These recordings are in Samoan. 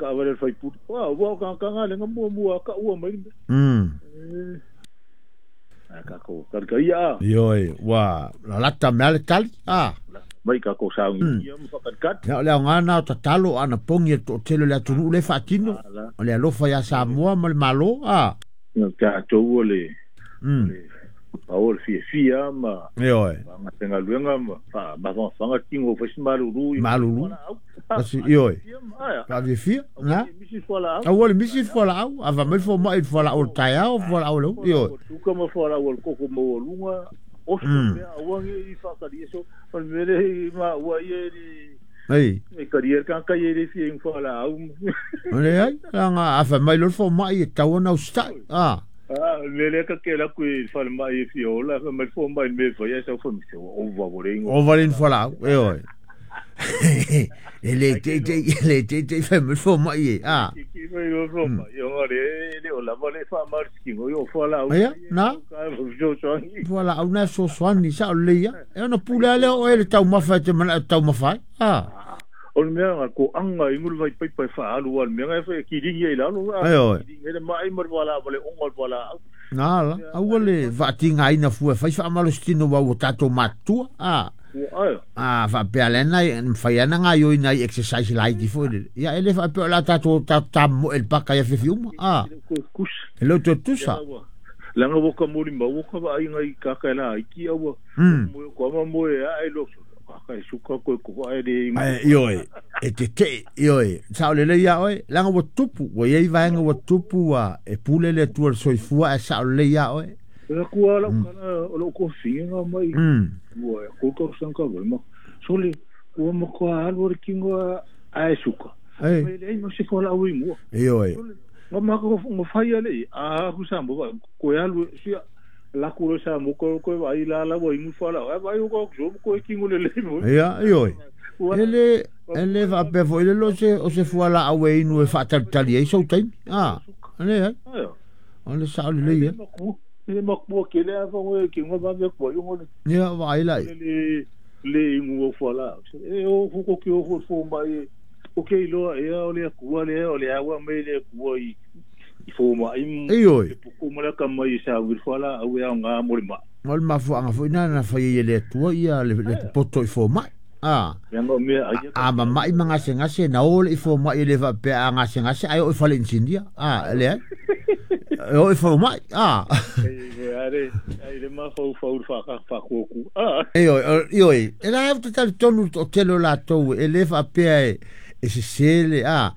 Kaavale le faipule. Ua ua ka ka nga le mua mua ka ua mai. A ka ko ka ka ia. Ioe, ua lalata mea le tali. Ah. Mai ka ko sa ngi ia mo ka ka. Ia o le aoga na o tatalo ana pongi e to'atele o le atunuu lea e faatino. O le alofa iā Samoa ma le Malo. Ah. Ka tou le pau le fiafia ma Ioe. Galuega ma mafamafaga tingo fai se malulu malulu asi ioe faafiafia na aua le misi fualaau ava mai fomai i fualaau o le taeao fualaau le ioe tuka ma fualaau o le koko maualuga oso mea aua nge i faakalia so o le mea le ma ua ia li ai e kalia ka ka ia le fia i fualaau leai langa afa mai lo fomai e tau ona usita'i a Mele ka ke la kui fale mai fi ola fa mai fo mai me fa ya sa fo mi se o va vole o va le fualaau e oe e le te te le te te fa mai fo mai e a ki mai o fo mai o le le o la va le fa mar ski o yo fualaau ia na fualaau na sosoani sa o le ia e ona pule ale o e le taumafa e te mana taumafa a o le mea nga ko anga i ngulu vai pai fa alu al mea nga fa ki ringi i lalo ai oi le mai mar wala wale ongo wala na la aua le faatigaina fua fai faamalositino ua ua tatou matutua a a faapea lena mafai ana gaioina i exercise laiti foi lele ia e le faapea o le a tatou tamoe le paka ia fiafi uma a e le o toe tusa langa woka moli ma woka va ai ngai ka ka la iki aua mo ko ma mo e ai lo ka suka ko ko ai le ai ioe e te te ioe sa le le ia oe langa ua tupu ua iai vaega ua tupu ua e pule le Atua le soifua ae sao lelei ia oe la kua la kana o lo ko finga mai ua ko ko sanka ma sole ua ma ko alu le kingo ai suka ai le no se fola ui mo ioe ma ma ko mo fai ale a ku sa mo ko alu sia la ku sa mo ko ko ai la la wo ingu fola ai vai ko ko ko kingo le le mo ia ioe ele ele faapea foi le lo se o se fualaau e inu e faatalitali ai sou taimi a le ai o le sao lelei e le makua ke le afa ngoe ke ngo ba ko yo ngo ia vaai lai le le ingu o fualaau e o ko ke o fo mai o ke iloa e o le akua le o le awa mai le akua i fo mai ioe ko mala ka mai sa wir fualaau e nga mo le ma mo le mafuaaga foi na na fai e le Atua ia le poto i fo mai a a mama'i ma gasegase na o le i fomai e le faapea a gasegase ae oo i fale inisinia a leai e oo i fomai a ioe ioe e la e talitonu le to'atele o latou e lē faapea e sesē le a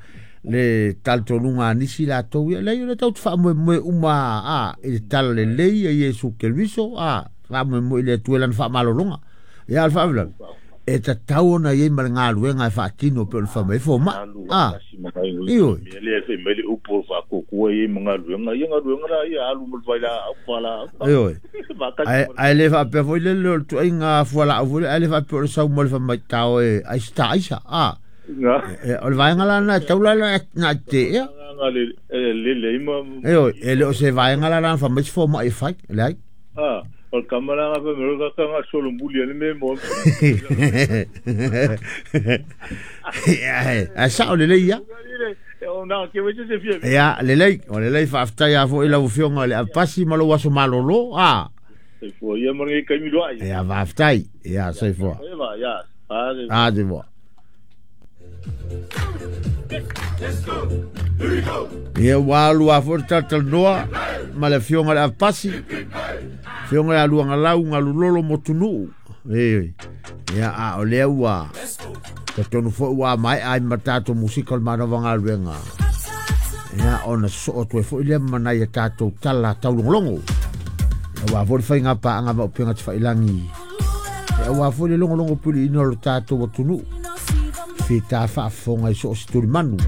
le talitonuga a nisi latou ia leai o le tautu faamoemoe uma a i le tala lelei a Iesu Keriso a faamoemoe i le Atua i lana faamalologa ia o le faalavelave e tatau ona iai ma le galuega e faatino pe o le faamai fomai a ioe le fe mai le upu faakukua i ma galuega ia galuega la ia alu ma le vailaau fualaau ioe ae le faapea foi le le o le tuaiga fualaau foi ae le faapea o le sau ma le faamaitao e aisa aisa a o le vaega la na e tau la na teea ioe e le o se vaega la na faamai se fomai e fai leai a o le kamalaga fa me ka ka solo muli le me mo a sao lelei ia o na ke we se fia ia lelei o lelei faafetai a foi lau afioga le apasi ma lou aso malolo a soifua ia ma ngai kaimi loa ia faafetai ia soifua ia a soifua ia ua alu a foi le talatalanoa ma le afioga le apasi afioga ia Luagalau Galulolo Motunuu e ia a o lea ua tatonu foi ua mae'a ai ma tatou musika o le manava galuega ia ona sosoo atu ai foi lea ma nai a tatou tala taulogologo aua foi le faiga paaga ma upega tafailagi e aua foi le logologo puliina o le tatou atunuu fita faafofoga i so o se tulimanu